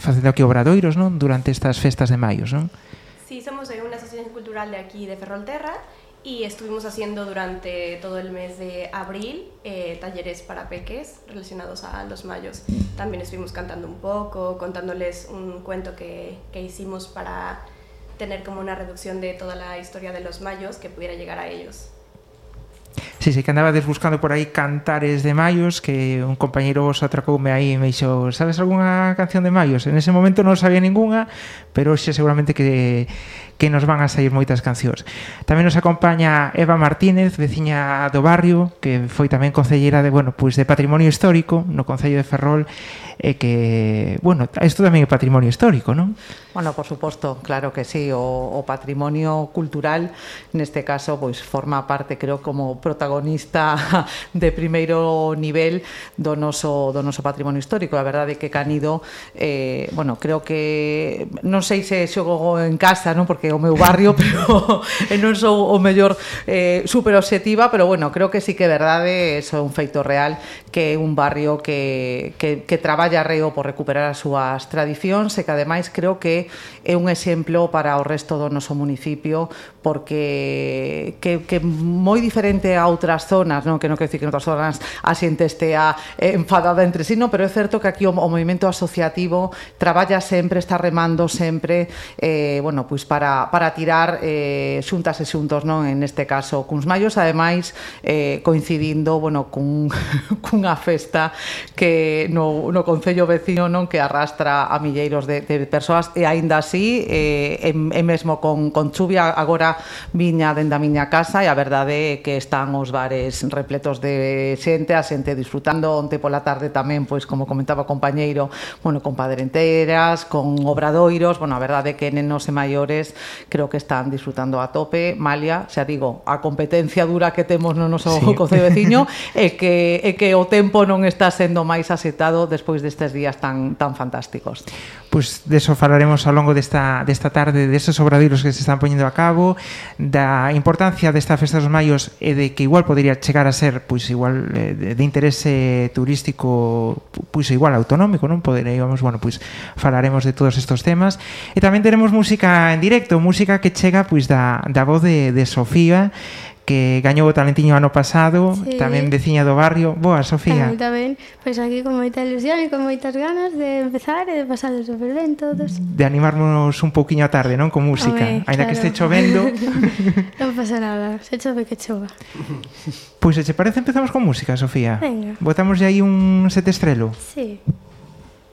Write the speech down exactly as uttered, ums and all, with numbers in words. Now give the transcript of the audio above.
facendo aquí obradoiros, non? Durante estas festas de maios, non? Sí, somos una asociación cultural de aquí de Ferrolterra y estuvimos haciendo durante todo el mes de abril eh, talleres para peques relacionados a los mayos. También estuvimos cantando un poco, contándoles un cuento que, que hicimos para tener como una reducción de toda la historia de los mayos que pudiera llegar a ellos. Sí, sí, que andabades buscando por aí cantares de maios, que un compañeiro vos atracoume aí e me dixo, sabes algunha canción de maios? En ese momento non sabía ninguna, pero xe seguramente que, que nos van a sair moitas cancións. Tamén nos acompaña Eva Martínez, veciña do barrio, que foi tamén concelleira de, bueno, pois de Patrimonio Histórico no Concello de Ferrol, e que, bueno, isto tamén é patrimonio histórico, non? Bueno, por suposto, claro que sí, o, o patrimonio cultural neste caso pois forma parte, creo, como protagonista de primeiro nivel do noso, do noso patrimonio histórico. A verdade é que Canido, eh, bueno, creo que non sei se xogo en casa, non, porque é o meu barrio, pero non sou o mellor eh, super obxectiva, pero bueno, creo que sí que é verdade, eso é un feito real, que é un barrio que, que, que traballa reo por recuperar as súas tradicións e que ademais creo que é un exemplo para o resto do noso municipio, porque que, que moi diferente a outras zonas, non? Que non quero dicir que en outras zonas a xente estea enfadada entre sí, non? Pero é certo que aquí o, o movimento asociativo traballa sempre, está remando sempre eh, bueno, pois para, para tirar eh, xuntas e xuntos, non? En este caso cuns maios, ademais eh, coincidindo, bueno, cun, cunha festa que no, no concello veciño, non, que arrastra a milleiros de, de persoas e aínda así eh, e, e mesmo con, con chuvia agora viña dende a miña casa e a verdade é que están os bares repletos de xente, a xente disfrutando. Onte pola tarde tamén, pois como comentaba o compañeiro, bueno, con padrenteras, con obradoiros, bueno, a verdade é que nenos e maiores creo que están disfrutando a tope. Malia, xa digo, a competencia dura que temos no noso sí. concello veciño é que, é que o tempo non está sendo máis asetado despois destes días tan, tan fantásticos. Pois deso falaremos ao longo desta, desta tarde, destes obradoiros que se están poñendo a cabo, da importancia desta festa dos maios e de que igual podría chegar a ser pois igual de, de interese turístico, pois igual autonómico, non? Poderíamos, bueno, pois falaremos de todos estos temas e tamén teremos música en directo, música que chega pois da, da voz de, de Sofía, que gañou o Talentiño ano pasado, sí. Tamén veciña do barrio. Boa, Sofía. Tamén, tamén, pois aquí con moita ilusión e con moitas ganas de empezar e de pasar super ben todos. De animarnos un pouquiño a tarde, non? Con música. Ainda claro. Que este chovendo. Non pasa nada, se chove que chova. Pois, se che parece, empezamos con música, Sofía. Venga. Botamos aí un sete estrelo. Sí.